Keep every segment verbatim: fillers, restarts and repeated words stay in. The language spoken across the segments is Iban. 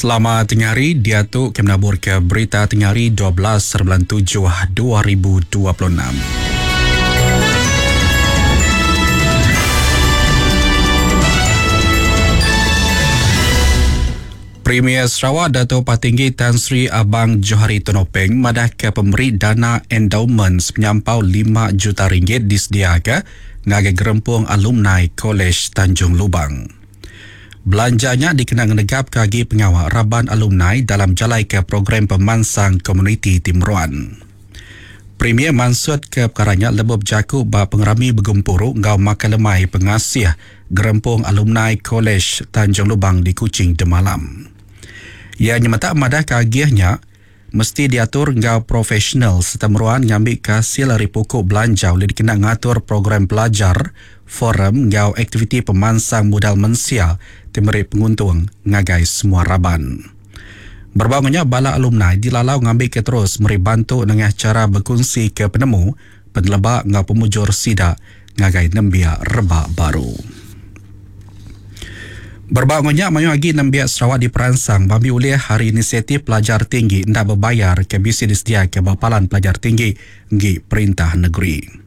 Selamat tengah hari, dia tu kami menabur ke berita tengah hari dua belas bulan tujuh dua ribu dua puluh enam. Premier Sarawak Dato' Patinggi Tan Sri Abang Johari Tun Openg madah ke pemberi dana endowment penyampau lima juta ringgit disediakan ngagai gerempung alumni Kolej Tanjung Lubang. Belanjanya dikena ngenegap ke agi pengawal raban alumni dalam jalai ke program pemansang komuniti Timuran. Premier mansut ke perkaranya lebih berjaku ba pengerami bergempuru ngau makan lemai pengasih gerempung alumni Kolej Tanjung Lubang di Kuching demalam. Ia nyemetak madah ke agihnya mesti diatur ngau profesional serta meruan ngambil hasil dari pokok belanja oleh dikena ngatur program pelajar, forum ngau aktiviti pemansang modal mensia timeri penguntung ngagai semua raban. Berbangunnya bala alumni dilalau ngambil ke terus meri bantu dengan cara berkongsi ke penemu penelebak ngau pemujur sida ngagai nembia rebak baru. Berbangunnya mayu lagi nembia Sarawak di Peransang bambi oleh hari inisiatif pelajar tinggi ndak berbayar ke bisi disedia ke Bapalan Pelajar Tinggi ngi Perintah Negeri.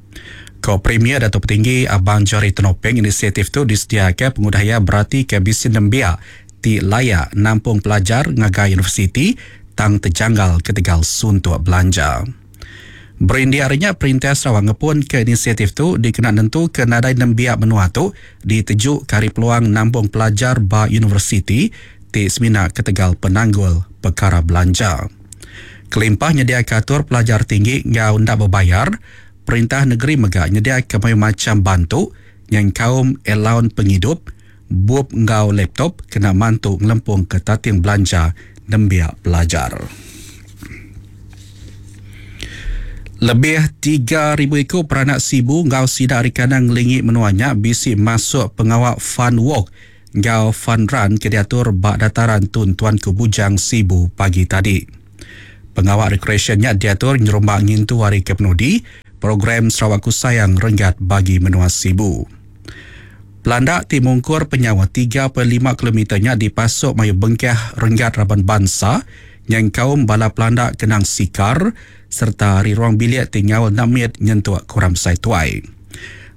Ko Premier Dato' Petinggi Abang Johari Tun Openg inisiatif tu disediakan pengudaya berarti ke bisi nembia ti layak nampung pelajar ngagai universiti tang terjanggal ketegal suntuk belanja. Berindik harinya Perintah Sarawak ngepun ke inisiatif tu dikena nentu ke nadai nembiak menua tu ditejuk kari peluang nampung pelajar ba universiti ti semina ketegal penanggul perkara belanja. Kelimpah nyediakan atur pelajar tinggi ngau ndak berbayar, Perintah Negeri mega nyediakan macam macam bantu yang kaum allowance penghidup, bup ngau laptop kena mantu ngelempung ke tating belanja nembiak pelajar. Lebih tiga ribu ekor peranak Sibu ngau sidak hari kanang ngelingi menuanya bisi masuk pengawal fun walk ngau fun run ke diatur bak dataran Tun Tuanku Bujang Sibu pagi tadi. Pengawal recreationnya diatur nyerumbak ngintu hari kepenudi program Sarawakku Sayang renggat bagi menua Sibu. Pelandak ti mungkur penyawa tiga perpuluhan lima kilometernya dipasuk mayu bengkah renggat raban bangsa yang kaum bala pelandak kenang sikar serta hari ruang bilik tinggal namit nyentuk kuram sai tuai.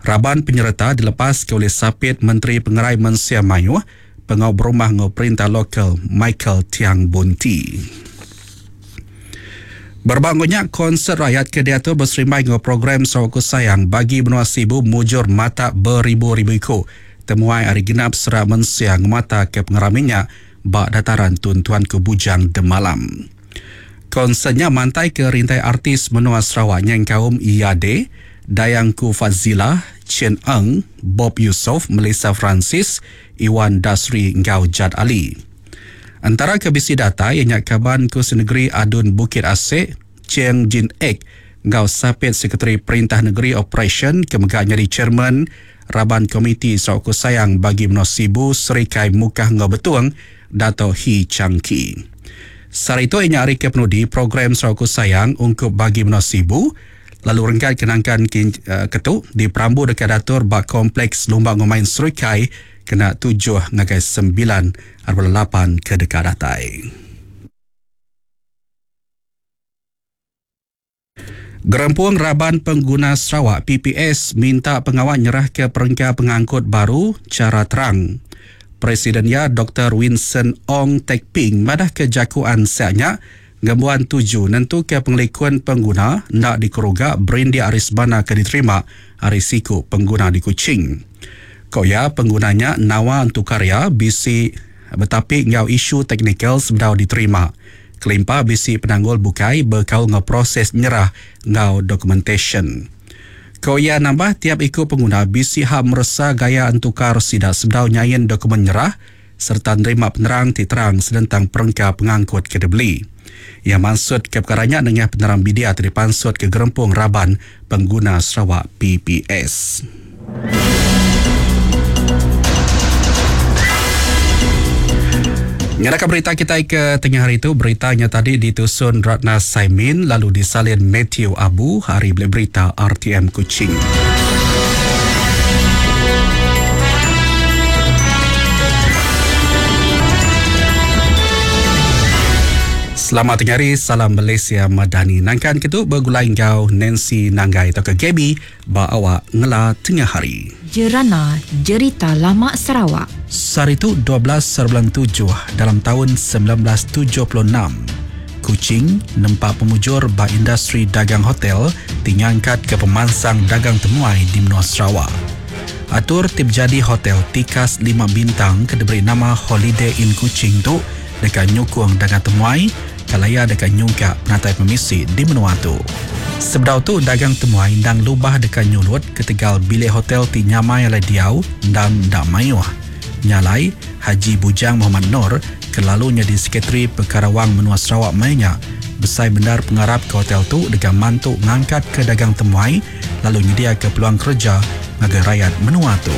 Raban penyerta dilepas ke oleh Sapit Menteri Pengerai Mensia Mayuh Pengau Berumah Ngau Perintah Lokal Michael Tiang Bunti. Berbangunnya konsert rakyat ke diatur berserimbai dengan program Sarawakku Sayang bagi benua Sibu mujur mata beribu-ribu ikut. Temuai hari genap serak mensiang mata ke pengeraminya bak dataran Tun Tuanku Bujang Demalam. Konsertnya mantai ke rintai artis menua Sarawak yang kaum Iade, Dayangku Fazila, Chen Eng, Bob Yusof, Melissa Francis, Iwan Dasri Ngau Jad Ali. Antara kebisi data yang nyak kaban Kursi Negeri Adun Bukit Asek, Cheng Jin Ek, Ngau Sapit Sekretari Perintah Negeri Operation kemegak nyari Chairman Raban Komiti Sarawakku Sayang bagi Menua Sibu Serikai Mukah Ngau Betuang, Dato' Hee Chang Ki. Sehari itu inya hari ke penudi program Sarawakku Sayang ungkup bagi Menua Sibu lalu renggat kenangkan kin, uh, ketuk di Perambu dekat datur bak kompleks Lumbang Ngomain Serikai kena tujuh ngagai sembilan arba lapan ke dekat datai. Gerempuang Raban Pengguna Sarawak P P S minta pengawal nyerah ke perengka pengangkut baru cara terang. Presidennya Doktor Winson Ong Tek Ping madah kejakuan siaknya ngembuan tuju nentu ke pengelikuan pengguna nak dikeruga berindia aris bana ke diterima risiko pengguna di Kuching. Koya penggunanya nawa untuk karya bisi betapi ngau isu teknikal sebedau diterima. Kelimpa bisi penanggul bukai berkau ngau proses nyerah ngau documentation. Koya nambah tiap ikut pengguna bisi hak meresa gaya entukar sidak sebedau nyain dokumen nyerah serta nerima penerang ti terang sedentang perengka pengangkut ke dibeli. Ia maksud ke perkaranya dengan penerang media terpansut ke gerempung Raban Pengguna Sarawak P P S. Nyalakan berita kita ke tengah hari itu, beritanya tadi ditusun Ratna Saimin lalu disalin Matthew Abu, hari beli berita R T M Kuching. Selamat tengah hari, salam Malaysia Madani. Nangkan ke tu begulai enggau Nancy Nanggai atau ke Gaby ba awak ngela tengah hari. Jerana Jerita Lama Sarawak. Sehari tu dua belas bulan tujuh dalam taun seribu semilan ratus tujuh puluh enam. Kuching nempa pemujur ba industri dagang hotel ti ngangkat ke pemansang dagang temuai di menua Sarawak. Atur ti bejadi hotel tikas lima bintang ke diberi nama Holiday Inn Kuching tu deka nyukung dagang temuai kalaya deka nyungkak penatai pemisi di menua tu. Sebedau tu dagang temuai endang lubah deka nyulut ketegal bilik hotel ti nyamai alai diau endang enda mayuh. Nyalai, Haji Bujang Muhammad Noor ke lalu nyadi Sekretari Pekara Wang Menua Sarawak maya nya besai bendar pengarap ke hotel tu deka mantu ngangkat ke dagang temuai lalu nyediaka peluang kerja ngagai rakyat menua tu.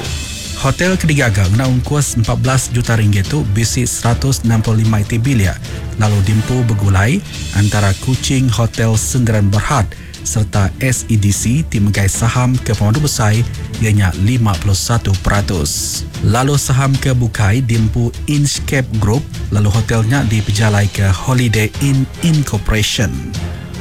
Hotel ke digaga ngena ungkus empat belas juta ringgit tu bisi seratus enam puluh lima iti bilik lalu diempu begulai antara Kuching Hotel Sendirian Berhad serta S E D C ti megai saham ke pemadu besai ianya lima puluh satu peratus. Lalu saham ke bukai diempu Inchcape Group lalu hotelnya dipejalai ke Holiday Inn Incorporation.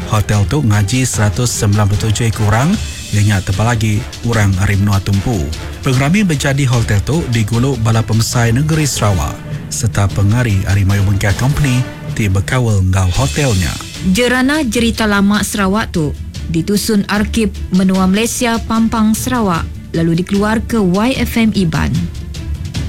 Hotel tu ngaji seratus sembilan puluh tujuh ekor orang ianya tebal lagi orang ari menua tumpu. Pengerami bejadi hotel tu digulu bala pemesai negeri Sarawak serta pengari ari mayuh bengkah company ti bekaul enggau hotelnya. Jerana Jerita Lama Sarawak tu ditusun Arkib Menua Malaysia Pampang Sarawak lalu dikeluarka Y F M Iban.